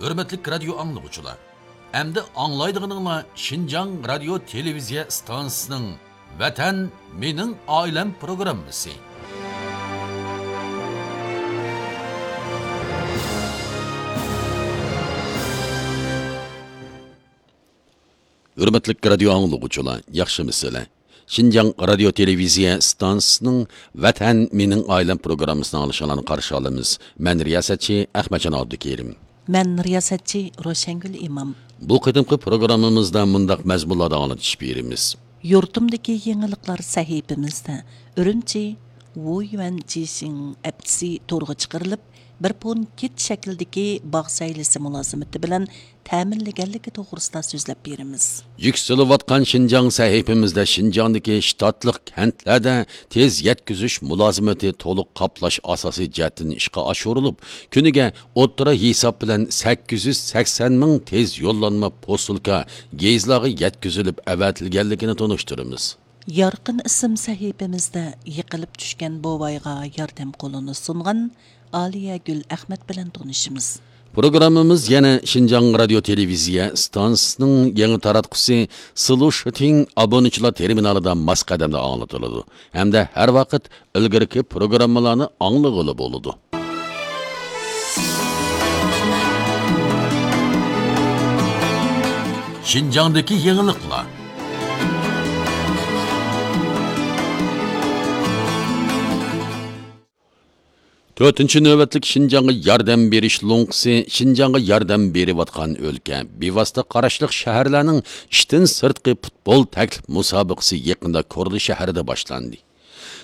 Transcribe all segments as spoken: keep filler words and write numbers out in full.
ھۆرمەتلىك رادىيو ئاڭلىغۇچىلار، ئەمدى ئاڭلايدىغىنىڭلار شىنجاڭ رادىيو تېلېۋىزىيە ئىستانسىسىنىڭ ۋەتەن مېنىڭ ئائىلەم پروگراممىسى. ھۆرمەتلىك رادىيو ئاڭلىغۇچىلار، ياخشىمۇسىلەر؟ شىنجاڭ رادىيو تېلېۋىزىيە ئىستانسىسىنىڭ ۋەتەن مېنىڭ ئائىلەم پروگراممىسىنى ئاڭلىشىڭلارنى قارشى ئالىمىز. مەن رىياسەتچى ئەخمەتجان ئابدۇكېرىم. مەن رىياسەتچى روشەنگۈل ئىمام. بۇ قېتىمقى پروگراممىمىزدا مۇنداق مەزمۇنلاردا ئاڭلىتىش بېرىمىز. يۇرتۇمدىكى يېڭىلىقلار سەھىپىمىزدە ئۈرۈمچى ۋۇيۈەن جىشىڭ ئەپچىسى تورغا چىقىرىلىپ، بىر پون كىت شەكلىدىكى باغ سەيلىسى مۇلازىمىتى بىلەن تەمىنلىگەنلىكى توغرىسىدا سۆزلەپ بېرىمىز. يۈكسىلىۋاتقان شىنجاڭ سەھىپىمىزدە شىنجاڭدىكى شتاتلىق كەنتلەردە تېز يەتكۈزۈش مۇلازىمىتى تولۇق قاپلاش ئاساسىي جەھەتتىن ئىشقا ئاشۇرۇلۇپ، كۈنىگە ئوتتۇرا ھېساب بىلەن سەككىز يۈز سەكسەن مىڭ تېز يوللانما پوسۇلكا گېيزلارغا يەتكۈزۈلۈپ ئەۋەتىلگەنلىكىنى تونۇشتۇرىمىز. يارقىن ئىسىم سەھىپىمىزدە يىقىلىپ چۈشكەن بوۋايغا ياردەم قولىنى سۇنغان ئالىيەگۈل ئەخمەت بىلەن تونۇشىمىز. پروگراممىمىز يەنە شىنجاڭ رادىيو تېلېۋىزىيە ئىستانسىسىنىڭ يېڭى تاراتقۇسى سلۇشىتىڭ ئابۇنىچىلار تېرمىنالىدا ماس قەدەمدە ئاڭلىتىلىدۇ ھەمدە ھەر ۋاقىت ئىلگىرىكى پروگراممىلارنى ئاڭلىغىلى بولىدۇ. شىنجاڭدىكى يېڭىلىقلار. تۆتىنچى نۆۋەتلىك شىنجاڭغا ياردەم بېرىش لوڭقىسى شىنجاڭغا ياردەم بېرىۋاتقان ئۆلكە، بىۋاسىتە قاراشلىق شەھەرلەرنىڭ ئىشتىن سىرتقى پۇتبول تەكلىپ مۇسابىقىسى يېقىندا كورلا شەھىرىدە باشلاندى.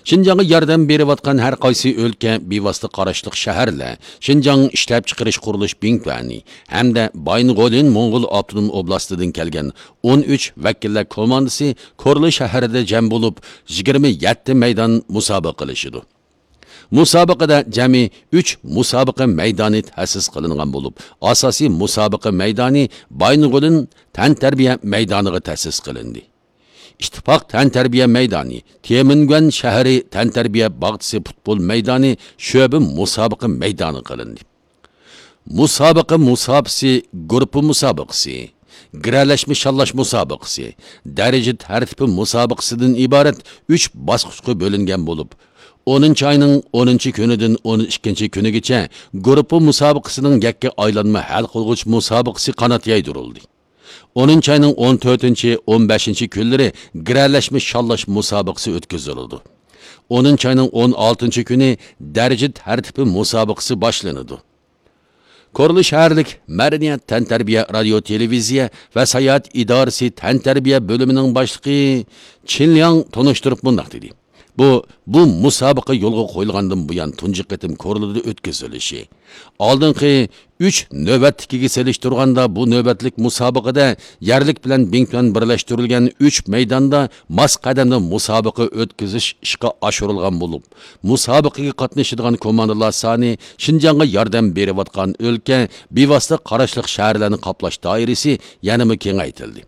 شىنجاڭغا ياردەم بېرىۋاتقان ھەر قايسى ئۆلكە، بىۋاسىتە قاراشلىق شەھەرلەر شىنجاڭ ئىشلەپچىقىرىش قۇرۇلۇش بىڭتۈەنى ھەمدە بايىنغولىن موڭغۇل ئاپتونوم ئوبلاستىدىن كەلگەن ئون ئۈچ ۋەكىللەر كوماندىسى كورلا شەھىرىدە جەم بولۇپ، يىگىرمە يەتتە مەيدان مۇسابىقە قىلىشىدۇ. مۇسابىقىدە جەمئىي ئۈچ مۇسابىقە مەيدانى تەسىس قىلىنغان بولۇپ، ئاساسىي مۇسابىقە مەيدانى بايىنغولىن تەنتەربىيە مەيدانىغا تەسىس قىلىندى. ئىتتىپاق تەنتەربىيە مەيدانى، تيەنئەنمېن شەھىرى تەنتەربىيە باغچىسى پۇتبول مەيدانى شۆبە مۇسابىقە مەيدانى قىلىندى. مۇسابىقە مۇساپىسى گۇرۇپپا مۇسابىقىسى، گىرەلەشمە شاللاش مۇسابىقىسى، دەرىجە تەرتىپى مۇسابىقىسىدىن ئىبارەت ئۈچ باسقۇچقا بۆلۈنگەن بولۇپ، ئونىنچى ئاينىڭ ئونىنچى كۈنىدىن ئون ئىككىنچى كۈنىگىچە گۇرۇپپا مۇسابىقىسىنىڭ يەككە ئايلانما ھەل قىلغۇچ مۇسابىقىسى قانات يايدۇرۇلدى. ئونىنچى ئاينىڭ ئون تۆتىنچى، ئون بەشىنچى كۈنلىرى گىرەلەشمە شاللاش مۇسابىقىسى ئۆتكۈزۈلىدۇ. ئونىنچى ئاينىڭ ئون ئالتىنچى كۈنى دەرىجە تەرتىپى مۇسابىقىسى باشلىنىدۇ. كورلا شەھەرلىك مەدەنىيەت تەنتەربىيە رادىيو تېلېۋىزىيە ۋە ساياھەت ئىدارىسى تەنتەربىيە بۆلۈمىنىڭ باشلىقى چىن لياڭ تونۇشتۇرۇپ مۇنداق دېدى. بۇ، بۇ مۇسابىقە يولغا قويۇلغاندىن بۇيان تۇنجى قېتىم كورلىدا ئۆتكۈزۈلۈشى. ئالدىنقى ئۈچ نۆۋەتتىكىگە سېلىشتۇرغاندا، بۇ نۆۋەتلىك مۇسابىقىدە يەرلىك بىلەن بىڭتۈەن بىرلەشتۈرۈلگەن ئۈچ مەيداندا ماس قەدەمدە مۇسابىقە ئۆتكۈزۈش ئىشقا ئاشۇرۇلغان بولۇپ، مۇسابىقىگە قاتنىشىدىغان كوماندىلار سانى شىنجاڭغا ياردەم بېرىۋاتقان ئۆلكە، بىۋاسىتە قاراشلىق شەھەرلەرنى قاپلاش دائىرىسى يەنىمۇ كېڭەيتىلدى.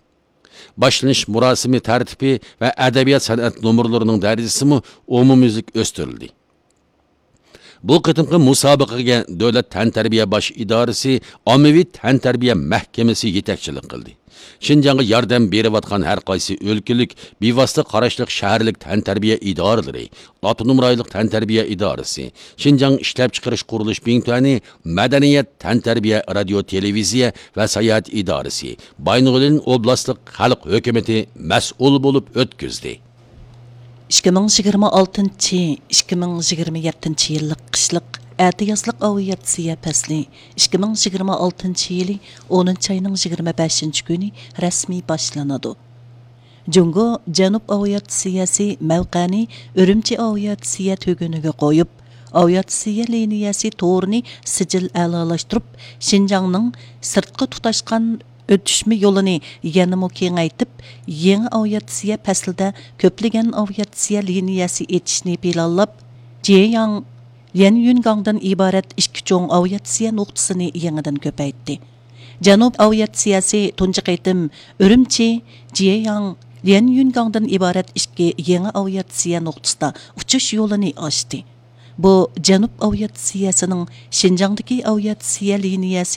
باشلىنىش مۇراسىمى تەرتىپى ۋە ئەدەبىيات سەنئەت نومۇرلىرىنىڭ دەرىجىسىمۇ ئومۇميۈزلۈك ئۆستۈرۈلدى. بۇ قېتىمقى مۇسابىقىگە دۆلەت تەنتەربىيە باش ئىدارىسى، ئاممىۋى تەنتەربىيە مەھكىمىسى يېتەكچىلىك قىلدى. شىنجاڭغا ياردەم بېرىۋاتقان ھەر قايسى ئۆلكىلىك، بىۋاسىتە قاراشلىق شەھەرلىك تەنتەربىيە ئىدارىلىرى، ئاپتونوم رايونلۇق تەنتەربىيە ئىدارىسى، شىنجاڭ ئىشلەپچىقىرىش قۇرۇلۇش بىڭتۈەنى، مەدەنىيەت، تەنتەربىيە، رادىيو، تېلېۋىزىيە ۋە ساياھەت ئىدارىسى، بايىنغولىن ئوبلاستلىق خەلق ھۆكۈمىتى مەسئۇل بولۇپ ئۆتكۈزدى. ئىككى مىڭ يىگىرمە ئالتىنچى، ئىككى مىڭ يىگىرمە يەتتىنچى يىللىق قىشلىق ئەتىيازلىق ئاۋىئاتسىيە پەسلى ئىككى مىڭ يىگىرمە ئالتىنچى يىلى ئونىنچى ئاينىڭ يىگىرمە بەشىنچى كۈنى رەسمىي باشلىنىدۇ. جۇڭگو جەنۇب ئاۋىئاتسىيەسى مەۋقەنى ئۈرۈمچى ئاۋىئاتسىيە تۈگۈنىگە قويۇپ، ئاۋىئاتسىيە لىنىيەسى تورىنى سىجىل ئەلالاشتۇرۇپ، شىنجاڭنىڭ سىرتقا تۇتاشقان ئۆتۈشمە يولىنى يەنىمۇ كېڭەيتىپ، يېڭى ئاۋىئاتسىيە پەسلىدە كۆپلىگەن ئاۋىئاتسىيە لىنىيەسى ئېچىشنى پىلانلاپ، جيەيياڭ، ليەنيۈنگاڭدىن ئىبارەت ئىككى چوڭ ئاۋىئاتسىيە نۇقتىسىنى يېڭىدىن كۆپەيتتى. جەنۇب ئاۋىئاتسىيەسى تۇنجى قېتىم ئۈرۈمچى، جيەيياڭ، ليەنيۈنگاڭدىن ئىبارەت ئىككى يېڭى ئاۋىئاتسىيە نۇقتىسىدا ئۇچۇش يولىنى ئاچتى. بۇ جەنۇب ئاۋىئاتسىيەسىنىڭ شىنجاڭدىكى ئاۋىئاتسىيە لىنىيەسى